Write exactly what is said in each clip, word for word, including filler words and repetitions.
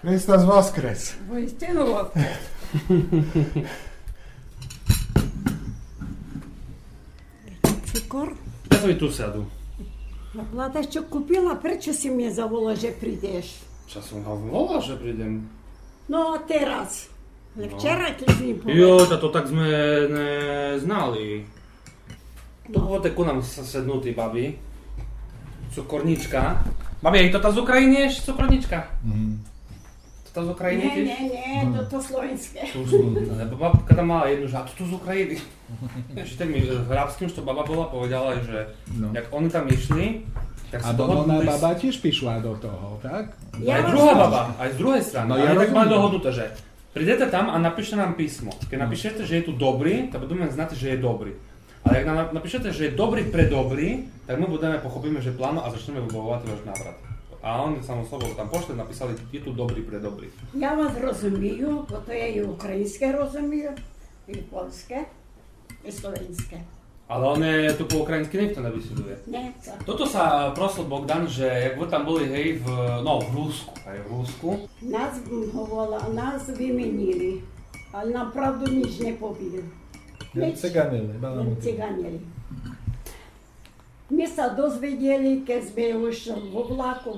Христос воскрес! Воістину воскрес! Цукор? Я собі ту сяду. Влада, што купила, пречо си ми заволал же придеш? Часом вам волал, же придем. Но, а тераз? Но. Вчера, кед си ми поведал. Йо, та то так зме не знали. Ту будзе ку нам с-, седнути, бабі. Цукорничка. Бабі, а то та з України єш цукорничка? Мгм. То та з України єш? Нє, нє, нє, то, то словеньске. Словеньске. Але баба, кеда мала єдну, же а то, то з України. Читам, е, в арабским, што баба була, поведала, же як они там ішли, так... А бо она, баба тіж пішла до того, так? Ай друга баба, ай з другой страны. Но, я розумію. Они так мали догоднуте, же придете там а напишете нам писмо. Кед напишете, же є ту добрі, та будеме знати, же є добрі. Але як на-, напишете, же є добрі пре добрі, так мы будеме, похопиме, же плавно а зачнеме выбавовати ваш наврат. А они само собов там пошли, написали, є ту добрі пре добрі. Я вас розумію, бо то я і україньске розумію, і польске, і словеньске. Але они ту по україньски нихто не бесідує. Нє, то. Тото ся просил Богдан, же як вы там были, гей, в, но, в Руску, ай в Руску. Нас, м, говорила, нас вымінили, але нам правду ніч не повіли. Ніч. Циганили, баламутили. Циганили. Мы ся дозведіли, кед зме уж во влаку,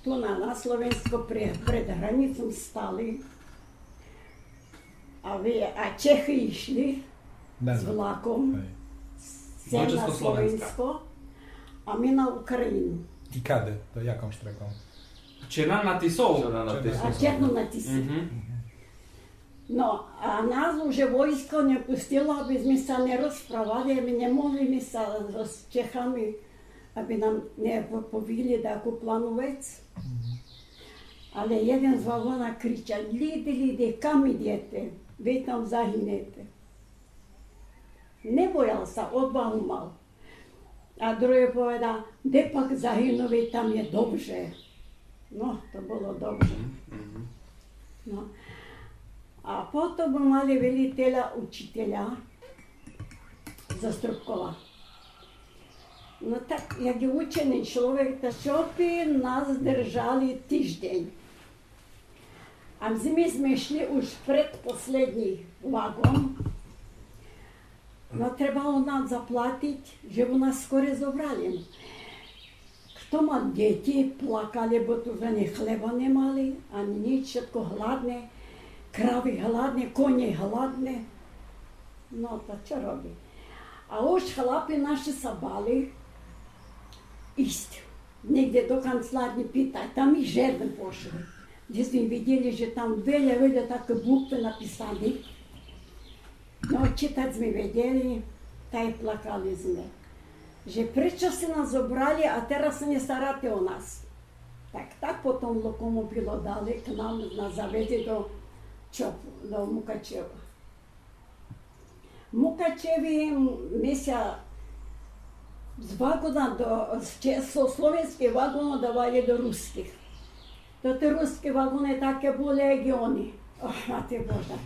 ту на, на Словеньско пре-, пред границом стали. А вы, а Чехы ішли з влаком, ай, сцена Словеньско, а мы на Україну. І кады? То яком штреку? Черна на Тису. Черна на Тису. А, Черна на Тису. Мгм. Но, а нас уже войско не пустило, абы зме ся не розправали, мы не могли мы ся з, з Чехами, абы нам не по-, повіли даку плавну вец. Мгм. Але єден з вагона кричал: „Люди, люди, кам идете? Вы там загинете.“ Не боял ся, одвагу мал. А другый поведал: „Де пак загинув, там є добре.“ Но, то было добре. Мгм, мгм. Но. А потом мы мали велїтеля, учителя зо Струбкова. Но так, як є ученый чловек, та што бы нас держали тыждень. А мы зме, зме шли уж предпослєднї вагон. Но, требало нам заплатиц, жебы нас скорей зобрали. Хто мал дїтї, плакали, бо ту за них хлеба не мали, ани ніч, вшытко гладне, кравы гладне, конї гладне. Но, та што робиц? А уж хлапи наши ся бали исц нєґде до канцеларнї питац, там їх жеден пошол. Дзе зме видїли, же там вельо, вельо такы буквы написани. Но, читац зме видїли, та й плакали зме. Же пречо сте нас зобрали, а тераз ся не старате о нас. Так, так потом локомобилом дали к нам, нас завезли до Чопу, до Мукачева. Мукачеви, м, ми ся з вагона до, з че-, со словеньских вагонох давали до руских. То тоти руски вагони таки були, як і они. Ох, мати Божа.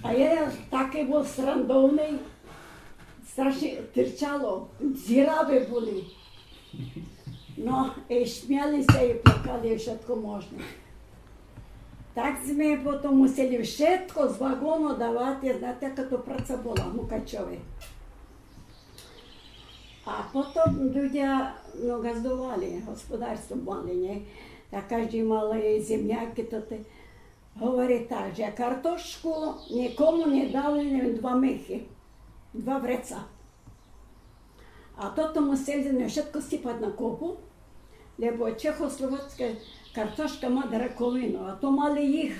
А єден таки бул срандовни, страшні тирчало, дзирави були. Но, і смяли ся, і плакали, і вшытко можне. Так зме потом мусели вшытко з вагону давати, знате, яка то праца була, Мукачови. А потом людя, но, ґаздовали, господарство мали, нє? Та каждый мал земяки, то те. Говори так, же картошку нікому не дали, лем два мехи, два вреца. А тото мусели зме вшытко сипац на копу, лебо чехословацка картошка ма раковину, а то мали їх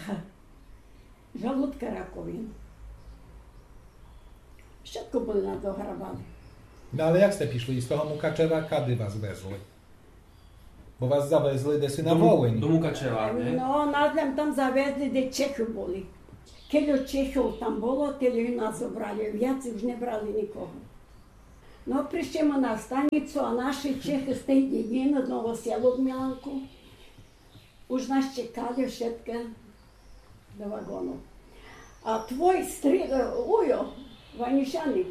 жалудка раковину. Вшытко були нас дограбали. Но але як сте пішли? З того Мукачева кады вас везли? Бо вас завезли деси на Волинь. До Мукачева, нє? Но, нас лем там завезли, де Чехи були. Кельо Чехов там було, тельо і нас зобрали, вяцей уж не брали нікого. Но, пришли мы на станїцу, а наши Чехи з тей дєдїны, з Новоселок, Миланку, уж нас чекали вшыткы до вагону. А твой стри-, е, уйо, Ванюшаник: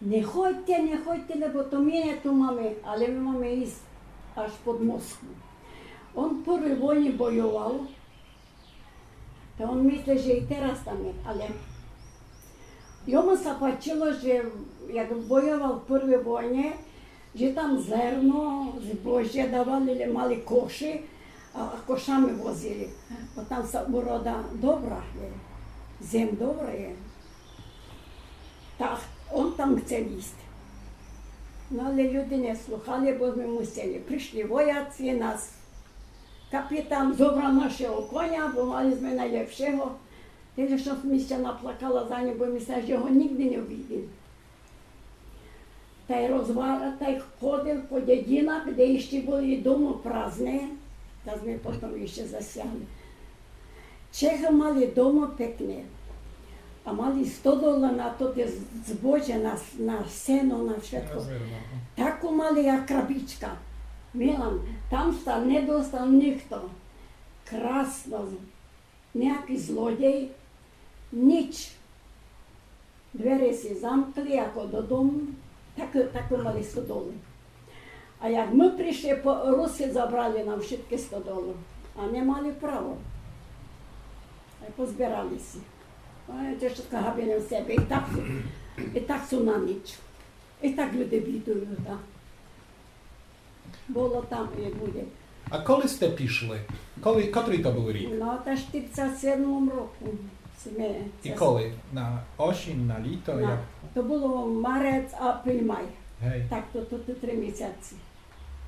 „Не ходьте, не ходьте, лебо то ми нє ту маме, але ми маме исц аж под Москву.“ Он Първій войни бойовав, та он мисли, же и тераз там є, але йому ся пачило, же як бойовав в първій войни, же там зерно, збожє давали, лє мали коши, а, а кошами возили. Бо там ся урода добра є, зем добра є. Та он там хцел істи. Но але люди не слухали, бо зме мусели. Пришли вояци, нас капітан зобрав нашого коня, бо мали зме найлєпшого. Тельо што сом ся наплакала за ним, бо мислела, же го нїґдзе не увидим. Тай розва-, тай ходил по дєдїнах, де іщи были дома празне, та зме потом іщи засягли. Чехы мали дома пекне, а мали стодолу на то, те з-, збожє, на с-, на сено, на вшытко. Таку мали, як крабичка. Милан, там ся не достав нихто. Красно, нияки злодєй, нїч. Двері си замкли, яко додому, так, таку мали стодолу. А як мы пришли, по-, Русы забрали нам вшыткы стодолы, а не мали право. А позбирали си. Ой, то вшытко габили в себе. И так, и так су на нїч. И так люди бідують, да. Было там и буде. А коли сте пішли? Коли, котрый то быв рік? Но, та штирдзет седмом року сме. И коли? На осінь, на літо? На. Як? То было марец, априль, май. Гей. Так, то, то, то три місяци.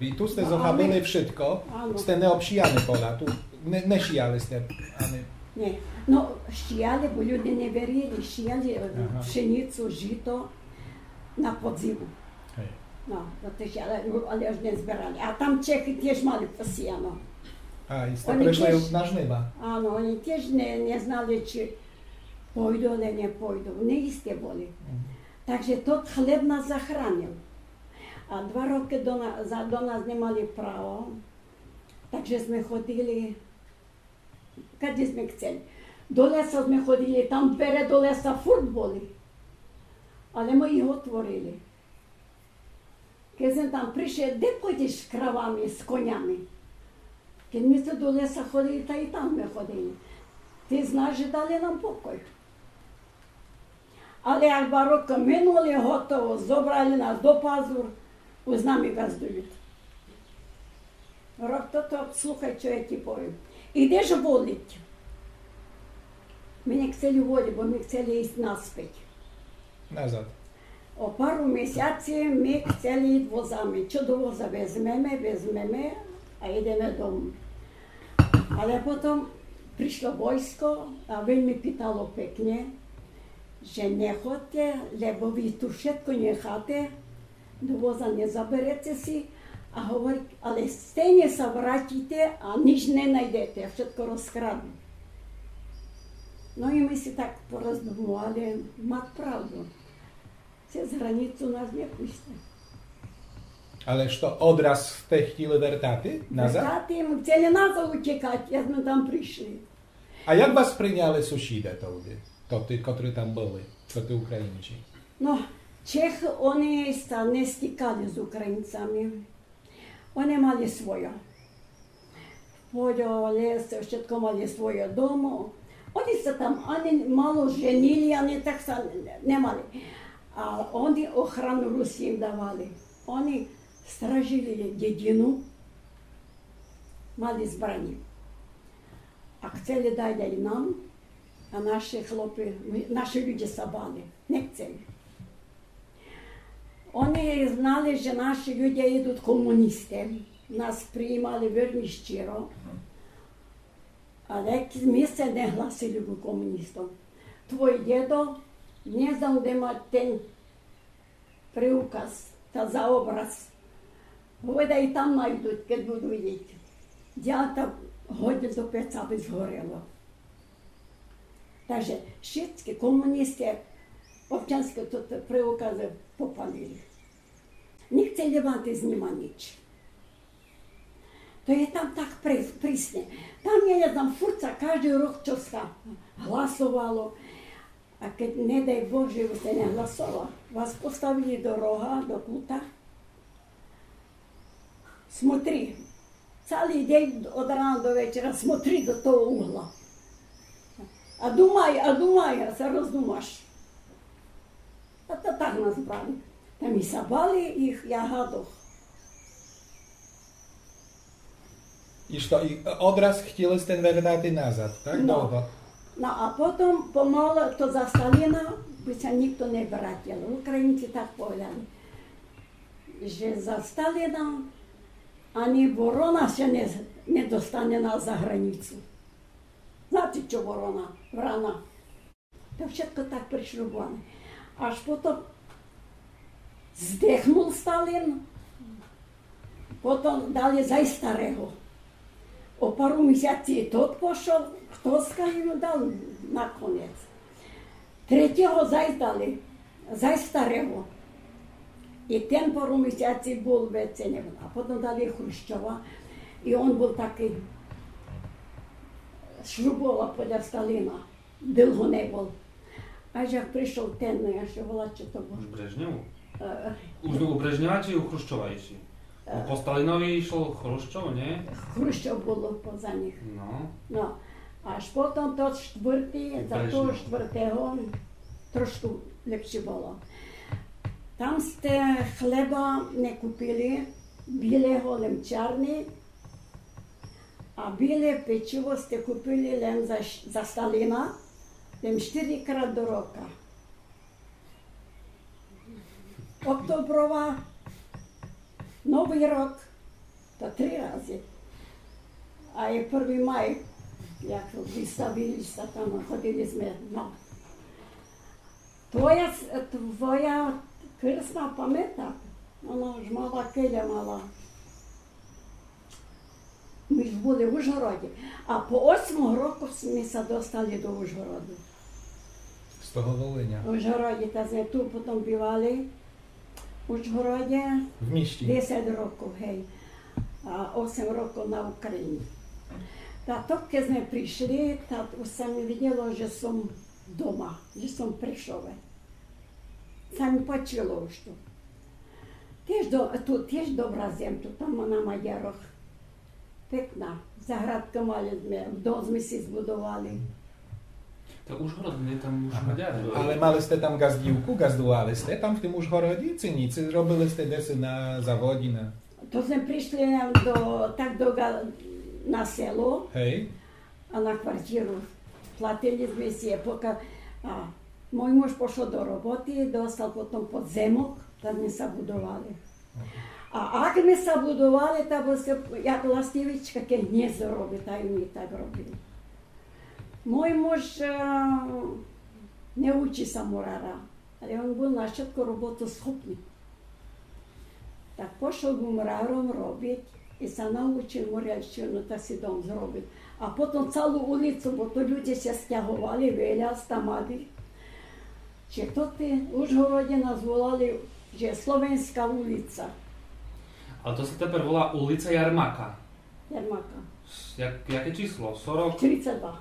И ту сте зохабили вшытко? Ано. Сте не обшияли поля, ту не, не шияли сте, ани? Нє. Но, шияли, бо люди не верили, шияли, е, пшеницу, жито на подзиму. Гей. Но, то теж, але, але ож не збирали. А там Чехы теж мали посіяно. А, и сте пришли на жнива? Ано, они теж не, не знали, чи пойду, але не пойду. Неісты были. Мгм. Так же тот хлеб нас захранил. А два рокы до на-, за-, до нас не мали право. Так же зме ходили, кадзе зме хцели. До леса зме ходили, там двере до леса фурт были. Але мы їх отворили. Кед зме там пришли, де пойдзеш з кравами, з конями? Кед зме ту до леса ходили, та и там зме ходили. Ти знаш же дали нам покой. Але як два рокы минули, готово, зобрали нас до пазур, уж з нами ґаздують. Рок то, то, слухай, што я ти повім. Идеш воліти. Мы не хцели воліти, бо мы хцели істи наспет. Назад. О пару місяци мы хцели істи возами. Што до воза везмеме, везмеме, а идеме дому. Але потом пришло войско, а вельми питало пекне, же не ходте, лебо ви ту вшытко нїхате, до воза не забереце си, а говорить, але стейнє ся вратите, а нїч не найдете, вшытко розкраднут. Но и мы си так пороздумовали, мат правду. Цез границу нас не пустя. Але што, одраз сте хтіли вертати назад? Вертати, мы хцели назад утїкати, як мы там пришли. А як вас приняли сусіде тогды, тоты, котры там были, тоты Українці? Но, Чехы, они ся не стикали з Українцами. Они мали свойо. Поло, лес, вшытко мали свойо дома. Они ся там ани мало женили, ани так ся не мали. А они охрану Руси їм давали. Они стражили дєдїну, мали збраня. А хцели дати дай нам, а наши хлопи, наши люде ся бали, не хцели. Они знали, же наши люде идут комуністы. Нас приїмали вельми щиро. Але мы ся не гласили ку комуністам. Твой дєдо, не знам де мать тен приуказ, та за образ. Говорит, и там найдуть, кед буду видіти. Я там годин до пеца, абы згорело. Так же шицки комуністы, овчаньскы тот приуказ попалили. Не хцели мати з нима нїч. То є там так при-, присне. Там, я не знам, фурт ся каждый рок штоси гласовало. А кед, не дай Боже, вы сте не гласовали, вас поставили до рога, до кута. Смотри, Цалый день од рана до вечера смотри до того угла. А думай, а думай, а ся роздумаш. А то так нас брали. Та ми ся бали їх, я гадох. І што, і одраз хотіли сте вертати назад, так? Но. Довго? Но, а потом помалу, то за Сталина бы ся никто не вратил. Українці так повідали, же за Сталина ани ворона ся не, не достане на заграницю. Знаєте, што ворона? Врана. То вшытко так пришрубоване. Аж потом здохнув Сталин, потом дали зай старого. О пару місяців тот пошов, хто ся їм дав наконець. Третього зай дали, зай старого. І тен пару місяців быв, веце не быв. А потом дали Хрущова. І он быв такый, шрубовав подля Сталина. Довго не быв. Аж як пришов тен, як ся волать, што то быв. Брежнєв? Е, Уж у Брежнєва чи у Хрущова іщи? Бо по Сталинови ішов Хрущов, нє? Хрущов быв поза них. Но. Но. Аж потом тот штвыртый, за того штвыртого трошку ліпше было. Там сте хлеба не купили, білого, лем чарный, а біле печиво сте купили лем за, за Сталина, лем штыри крат до рока. Октоброва, Новый рок, то три разы. А і Первый май, як выставили ся там, ходили сьме, но. Твоя, с- твоя крсна памятат, она уж мала, кельо мала. Мы ж были в Ужгороді. А по осьмого року сьме ся достали до Ужгороду. З того Волиня. В Ужгороді, та сьме ту потом бывали. В Ужгороді В місті. Десять років, гей. А осем років на Україні. Та то, кед сьме пришли, та уж ся ми виділо, же сом дома, же сом в Пришове. Ся ми пачило уж ту. Тіж до, ту тіж добра зем, ту там на Мадярох. Пекна. Заградку мали сьме, дом сьме си збудовали. Та Ужгород, не там уж Мадяры. Але мали сте там ґаздівку, ґаздували сте там в тым Ужгороді, ци ні? Ци робили сте десь на заводі, на... То сьме пришли до, так до, га- на село, Гей? а на квартиру. Платили сьме си, пока, а, мой муж пошов до роботы, достав потом подземок, там сьме ся будовали. А як сьме ся будовали, та бо ся, як ластівочка, кед гнєздо робит, та і мы так робили. Мой муж, е, не учи ся мурара, але он быв на вшытку роботосхопный. Так пошов быв мураром робит і ся научив мурарщину, та си дом зробив. А потом цалу улицу, бо то люде ся стяговали, веля з тамады. Чи то ти в Ужгороді нас волали, же Словенська улиця. Але то ся тепер волає улиця Ярмака. Ярмака. Як, яке число? Сорок? Тридцять два.